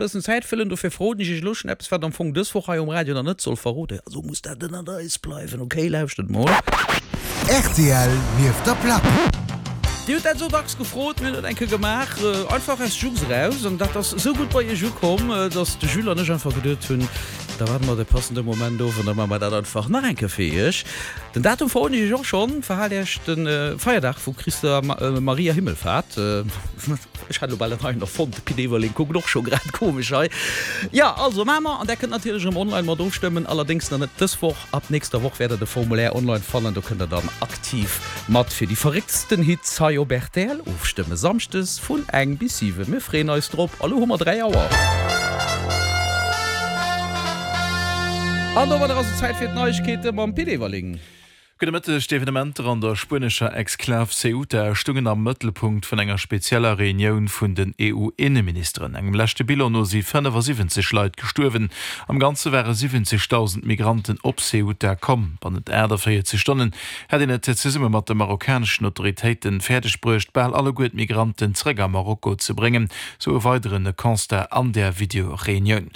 Bëssen Zäit fëllen, dofir verroden ech iech elo schonn eppes, wat am Fong dës Woch hei um Radio nach net soll verroden. Also muss dat ënnert eis bleiwen, ok? Lauschtert mol. Rtl nieft der Plack. Dir hutt dat esou dacks gefrot, mir hunn dat eng Kéier gemaach, einfach aus Jux eraus, an dat ass esou gutt bei iech ukomm, dass de Jules an ech einfach geduet hunn, da waarde mer de passende Moment of an da maache mer dat einfach nach eng Kéier fir iech. Den Datum verroden ech iech och schonn, Verhaalt iech de Feierdag vu Christa Maria Himmelfahrt. Ech hat elo bal en neien erfonnt, de Pit Everling kuckt och scho grad komesch hei. Jo, also maache mer, an där kënnt natierlech erëm online mat ofstëmmen, allerdéngs nach net dës Woch, ab nächster Woch wäert der de Formulaire online fannen, do kënnt der dann aktiv mat fir déi verrécktsten Hits hei op rtl ofstëmmen, Samschdes vun eng bis 7. Mir freeën eis drop, a lo hu mer 3 Auer. An domadder ass et Zäit fir d'Neiegkeete mam Pit Everling. Gudde Mëtteg. D'Evenementer an der spuenescher Exklav Ceuta stungen am Mëttelpunkt vun enger spezieller Reunioun vun den EU-Inneministeren. Engem leschte Bilan no si 75 Leit gestuerwen. Am Ganze ware 70.000 Migranten op Ceuta komm. Bannent 48 Stonnen hätt een et zesumme mat de marokkaneschen Autoritéiten fäerdeg bruecht, bal alleguer d'Migranten zeréck a Marokko ze bréngen, sou e weidere Constat an där Video-Reunioun.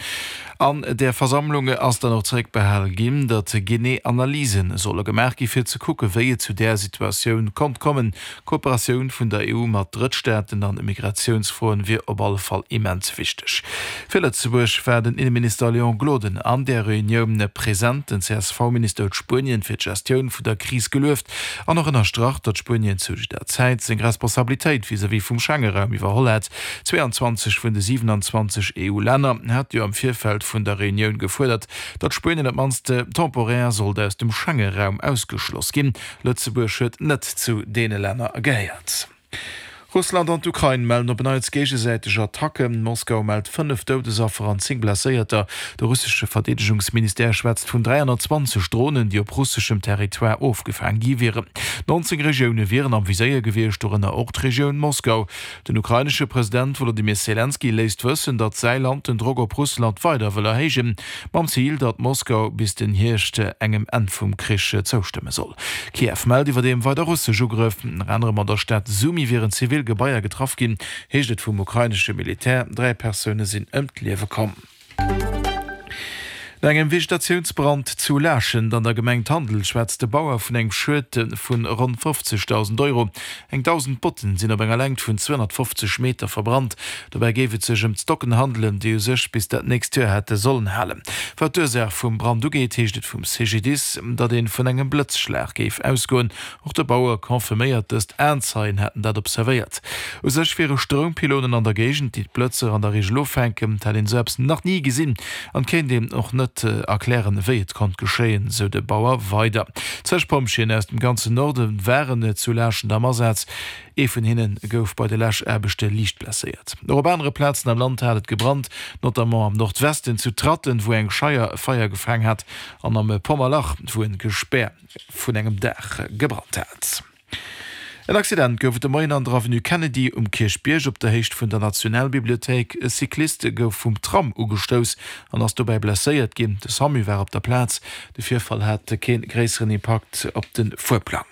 An där Versammlung ass dann och zeréckbehal ginn, datt genee Analyse solle gemaach gi fir ze kucke wéi et zu där Situatioun konnt kommen. D'Kooperatioun vun der EU mat Drëttstaaten an Immigratiounsfroen wier op alle Fall immens wichteg. Fir Lëtzebuerg war den Inneminister Léon Gloden an där Reunioun present. Den CSV-Minister huet Spuenien fir d'Gestioun vun der Kris gelueft an och ënnerstrach, datt Spuenien zu jidder Zäit seng Responsabilitéit vis-à-vis vum Schengeraum iwwerholl hätt. 22 vun de 27 EU-Länner hate jo am Virfeld vun der Reunioun gefuerdert, datt Spuenien op d'mannst temporär sollt aus dem Schengeraum ausgeschloss ginn. Lëtzebuerg huet net zu deene Länner gehéiert. Russland an d'Ukrain mellen op en Neits géigesäiteg Attacken. Moskau mellt 5 Doudesaffer an 10 Blesséierter. De russesche Verdeedegungsministère schwätzt vun 320 Dronen, déi op russeschem Territoire ofgefaang gi wieren. 19 Regioune wieren am Viséier gewiescht, dorënner och d'Regioun Moskau. Den ukrainesche President Wolodymyr Selenskyj léisst wëssen, datt säi Land den Drock op Russland weider wëll erhéijen, mam Zil, datt Moskau bis den Hierscht engem Enn vum Krich zoustëmme soll. Kiew mellt iwwerdeem weider russesch Ugrëff. Ënner anerem an der Stad Sumy wieren zivil Gebaier getraff ginn, heescht et vum ukrainesche Militär. 3 Persoune sinn ëm d'Liewe komm. No engem Vegetatiounsbrand zu Laaschent an der Gemeng Tandel schwätzt de Bauer vun engem Schued vun ronn 50.000 Euro. Eng 1.000 Botten sinn op enger Längt vun 250 Meter verbrannt. Dobäi géif et sech ëm d'Stocken handelen, déi u sech bis dat nächst Joer hätte sollen halen. Wat d'Ursaach vum Brand ugeet, heescht et vum CGDIS, datt ee vun engem Blëtzschlag géif ausgoen. Och de Bauer confirméiert dëst, Aenzeien hätten dat observéiert. U sech wiere Stroumpylonen an der Géigend, déi d'Blëtzer an der Reegel offänken. Et hätt een esou eppes nach ni gesinn an et kéint een och net erklären, wéi et konnt geschéien, sou de Bauer weider. Zeg Pompjeeën aus dem ganzen Norde waren zu Laaschent am Asaz. Ee vun hinne gouf bei de Läschaarbechte liicht blesséiert. Och op anere Plazen am Land hat et gebrannt, notamment am Nordwesten zu Tratten, wou eng Scheier Feier gefaang hat, an am Pommerlach, wou e Gespär vun engem Daach gebrannt hat. En Accident gouf et de Moien an der Avenue Kennedy um Kierchbierg op der Héicht vun der Nationalbibliothéik. E Cyclist gouf vum Tram ugestouss an ass dobäi blesséiert ginn. De Samu war op der Plaz. De Virfall hat kee gréisseren Impakt op de Fuerplang.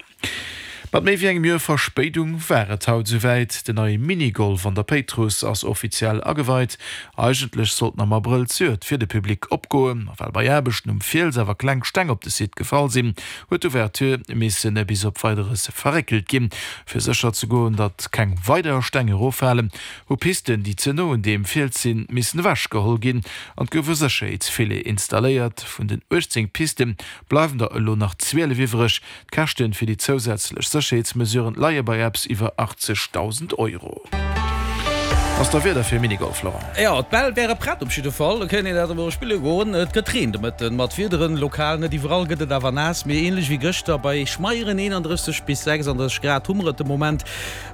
Mat méi wéi engem Joer Verspéidung war et haut esouwäit, Den neie Minigolf an der Péitruss ass offiziell ageweit. Eigentlech sollt en am Abrëll zejoert fir de Public opgoen, ma well bei Aarbechten um Fiels awer kleng Steng op de Site gefall sinn, huet d'Ouverture misse bis op Weideres verréckelt ginn. Fir sécher ze goen, datt keng weider Steng eroffalen, hu Pisten, déi ze no un deem Fiels sinn, missen ewechgeholl ginn an et gouf e Sécherheetsfilet installéiert. Vun den 18 Piste bleiwen der elo nach 12 iwwreg. D'Käschten fir déi zousätzlech Sécherheetsmesuren leie bei eppes iwwer 80.000 Euro. Ass da Wieder fir Minigolf, Laurent? Jo, d'Bäll wäre prett op jidde Fall. Da kéint een dat emol spille goen. Et gëtt Reen de Mëtten, mat Wiederen. Lokal, net iwwerall, gëtt et awer naass, mee änlech wéi gëschter. Bei schmeieren 31 bis 36 Grad hu mer et de Moment.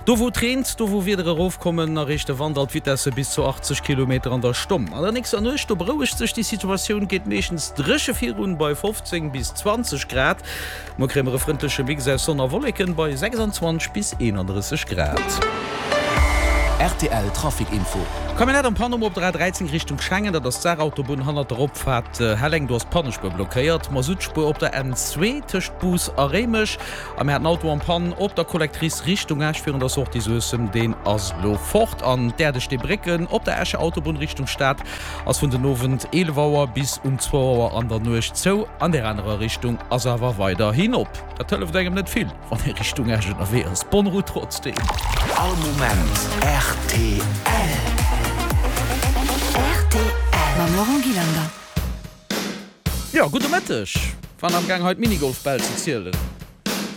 Do wou et reent, do wou Wieder erofkommen, erreecht de Wand alt Vitesse bis zu 80 Kilometer an der Stonn. An der nächster Nuecht, do berouegt sech déi Situatioun, geet meeschtens dréche virun bei 15 bis 20 Grad. Muer kréie mer e frëndleche Mix aus Sonn a Wolleken bei 26 bis 31 Grad. Rtl Trafic Info. Camionnette en panne um op der A13 Richtung Schengen, dat ass d'Saarautobunn hannert der Opfaart Helleng, do ass d'Pannespuer blockéiert. Masuttspuer op der N2 tëscht Bous a Réimech a mir haten Auto en panne op der Collectrice Richtung Esch virun der Sortie Suessem, deen ass elo fort. An d'Äerdesteebrécken op der Escher Autobunn Richtung Stad ass vun den Owend 11 Auer bis um zwou Auer an der Nuecht zou, an der anerer Richtung ass awer weiderhin op. Dat hëlleft engem net vill, wann ee Richtung Esch ënnerwee ass. Bonne route trotzdeem. All Moment rtl. Rtl mam Laurent Gillander. Jo, gudde Mëtteg. Waren am gaang hei d'Minigolfbäll ze zielen.